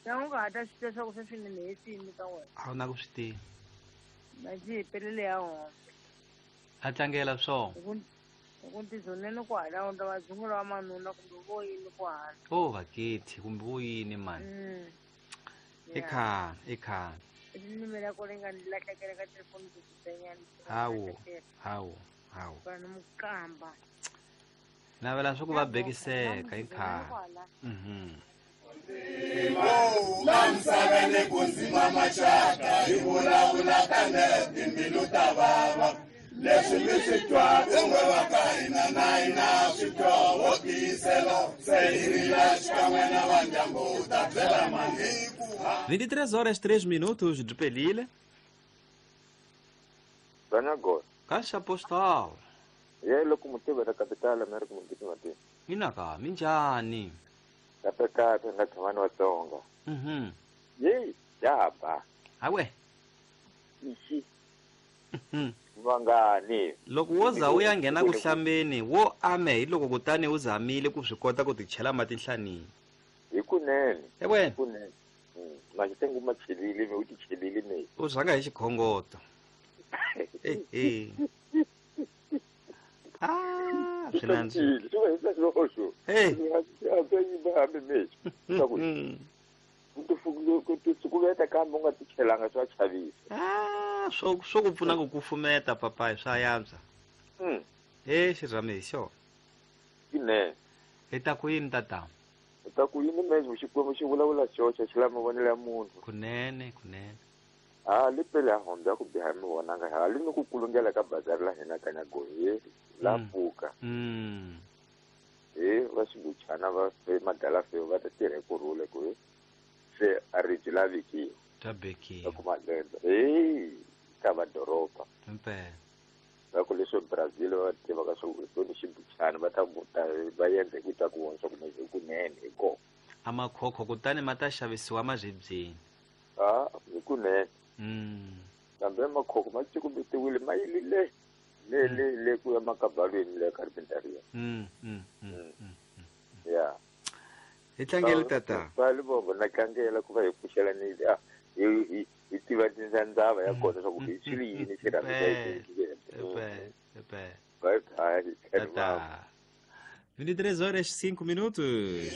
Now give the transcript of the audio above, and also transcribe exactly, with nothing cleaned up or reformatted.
Na u nga ha ta swi tiva swa ku sweswi ni hetini ka wena. A wu na ku swi tiva. Na ji hi pelele ya hombe. A tlangela swona. Hi ku hi ku ntizonene ku hala u ta va dzungula wa manuna kumbe vo yini ku hala. O vakethi kumbe vo yini mani. Mm. I khale, i khale. Rinimi ra kona yi nga ni lahlekela ka telefoni ku kutenyana. Hawu, hawu, hawu. Vanhu mukamba. Navela swa ku va bekiseka i khale. Mhm. La misaveni ku ndzima maxaka hi vulavula kambe timbilu ta vava leswi mi swi twaka n'we va ka hina na hina swi twa wo tiyisela se hi rila xikan'we na va ndyangu u ta byela mani ku vinte e três horas três minutos de Pelile. Banagor. Caixa postal. Ye loko mutivela capital America mugiti mati. Mina ka minjhani? Kahle kahle nga tshama ni Vatsonga. Mhm. Yeyi ya ba. Hawe. Ixi. Mhm. Vangani. Loko wo za u ya nghena ku hlambeni wo ame hi loko kutani u zamile ku swi kota ku ti chela mati nhlanini. Hi kunene. Ewe. Hi kunene. Maxitengu ma chelile mi u ti chelile mi. U rhanga hi xikhongoto. Eh eh. Ah, swi nandzika. Swi va hi sweswo. Hey. Ku ti kambe u nga ti chelanga swa chavisa. Ah, swo swo ku pfuna ku kufumeta papayi swa yantswa. Mm. Eh, xirhami hi xona. Ine. Hi ta ku yini tata? Hi ta ku yini mezwi Xikwembu xi vulavula xoxe xi lava mavonelo ya munhu. Kunene, kunene. Ha li pele ya hombe ya ku biha mi vonanga ha li ni ku kulungela ka bazari la hina Kanyagohi la pfuka. Mm. Eh, va xibuchana va fe madala fe va ta tirha ku rhula ku se a ri byi lavikiwa. Ta bekiwa. Ku malembe. Eh, ka va doroba. Impela. Va ku leswi Brazil va tivaka swo ku ni xibuchana va ta ta va endla ku ta ku vona swa ku hi kunene hi kona. A makhokho kutani ma ta xavisiwa maribyeni. Ah, hi kunene. Mm. Kambe makhokho ma cukumetiwile ma yilile le le le ku ya makabalweni le carpentaria. Mm, mm, mm, mm. Yeah. Hi tlangele tata. Va li bongo na tlangela ku va hi pfuxela ni ah hi hi hi tiva tindzandzava ya kona swa ku hi swi yini xirhami xa Epe, epe. Bye bye. Tata. vinte e três horas cinco minutos.